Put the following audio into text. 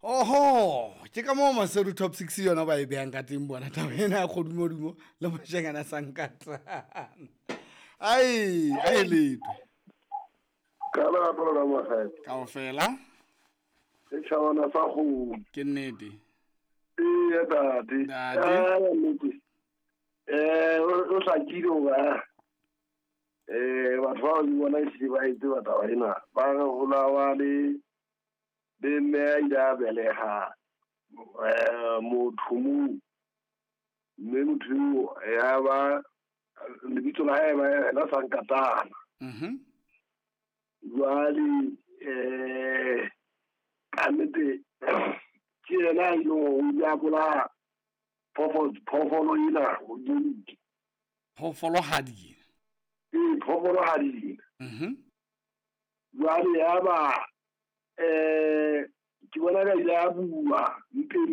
Oho, ke ka moo Maseru Top 6 yona ba e behang ka teng bona taba ena ya kgodumodumo le moshanyana sankatana. Ai, ai letwe. Ka lerato la magae. Kaofela. Setjhabana sa kgomo. Ke nnete. Ee, ntate. Ntate. Ah, nnete. O hlakile hoba batho bao le bona ehlile ba e tseba taba ena. Ba re ho lawa le le mme a ile a beleha motho moo. Mme motho eo ya ba lebitso la hae ba yena Sankatana. Jwale ka nnete ke yena a ileng hore o ile a bolaya phoofolo ena hodimo. Phoofolohadi. Ee, phoofolohadi ena. Jwale ya ba ke bona ka ile a bua mpeng.